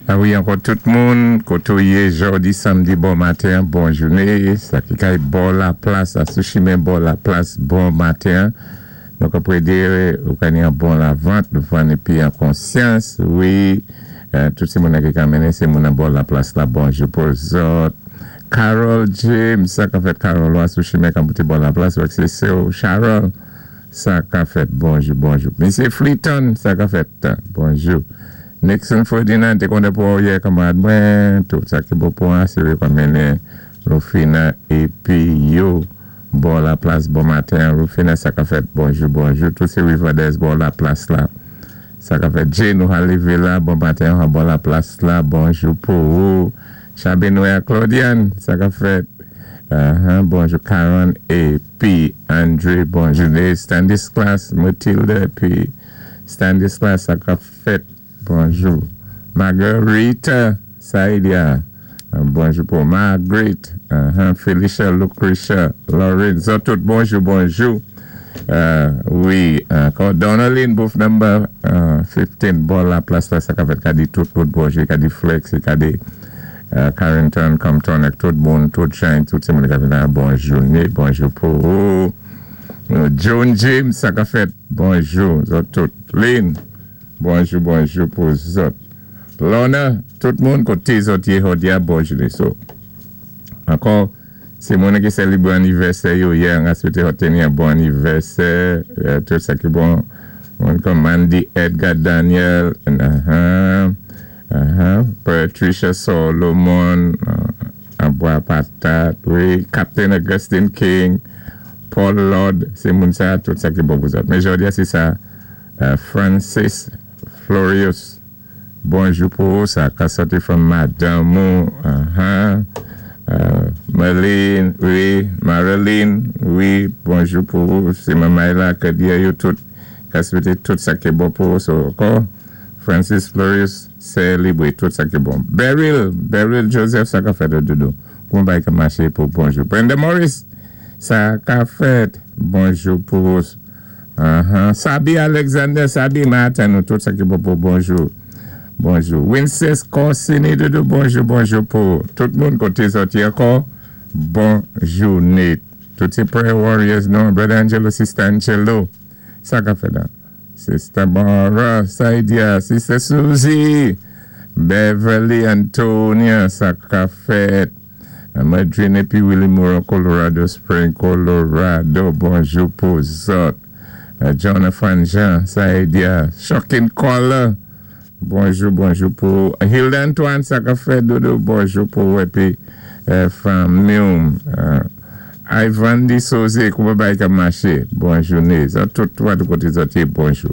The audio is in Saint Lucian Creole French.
A wi, ankò tout moun, koté ou yé jòdi samdi, bon maten, bon jouné. Sa ki kay bò La Plas, sou chimen bò La Plas, bon maten. Nou ka prédé ou ka ni an bon lavant, vann épi an konsyans, wi. Tout sé moun ki ka mennen, sé moun an bò La Plas la, bonjou pou zòt. Carol James, sa ka fèt, Carol, wè sou chimen kan bouti bò La Plas, wè sé sè Charol, sa ka fèt, bonjou, bonjou. Mesye Fleeton, sa ka fèt, bonjou. Nixon Ferdinand, té konnen pou yè, kanmarad mwen, tout sa ki bon pou an, sé kon mennen Rufina épi yo. Bò La Plas, bon maten. Rufina, sa ka fèt, bonjou, bonjou. Tout sé Riverdez, bò La Plas la. Sa ka fèt, Jane, nou rivé la, bon maten, bò La Plas la, bonjou pou ou. Chabenoy Claudiane, sa ka fèt. Bonjou Karen épi André, bonjou. Stanislas, Mathilde, épi Stanislas, sa ka fèt, bonjou. Marguerite, Saïdia, bonjou pou Margaret, Felicia, Lucretia, Lorenzo, tout bonjou, bonjou. Wi, ankò Donaline, booth number 15, bò La Plas la, sa ka fèt, ka di tout moun bonjou, ka di Flex, ka di Carrington, Compton, ak tout moun, tout jan, tout sé moun ka fè bon jouné, bonjou pou ou. John James, sa ka fèt, bonjou, zòt tout. Lynn, bonjou, bonjou pou zòt. Lorna, tout moun koté zòt yé jòdi a, bon jouné. So, ankò, sé moun ki sélébwé anivèsè yo yè, an swété yo teni an bon anivèsè, tout sa ki bon. Moun kòm Mandy Edgar Daniel, Patricia Solomon, Abois Patat, wi, Captain Augustine King, Paul Lord, sé moun sa, tout sa ki bon pou zòt. Men jòdi a, sé sa, Francis Florius, bonjou pou ou, sa ka sòti from madanm ou, Marlene, wi, Marilyn, wi, bonjou pou ou, sé manmay la, ke di yo tout, ka swété tout sa ki bon pou ou, so, ankò, Francis Florius, sélébré tout sa ki bon. Beryl, Beryl Joseph, sa ka fèt doudou. Kouman bagay ka maché pou bonjou. Brenda Morris, sa ka fèt, bonjou pou ou. Sabi Alexander, Sabi Martin, nou tout sa ki bon pou bonjou. Bonjou. Winces Corsini, doudou, bonjou, bonjou pou tout moun koté zòt yé ankò. Bon jouné. Tout sé prayer warriors, non? Brother Angelo, Sister Angelo. Sa ka fèt la. Sister Barbara, Saidia, Sister Susie, Beverly Antonia, sa ka fèt. Madrine épi Willie Moore, Colorado Spring, Colorado, bonjou pou zòt. Jonathan Jean, Saidia, Shocking Caller, bonjou, bonjou pou Hilda Antoine, sa ka fèt, doudou, bonjou pou épi fanmi. Ivan Di Soze, kouman bagay ka maché, bon jouné. Zòt tout, tout koté zòt yé, bonjou.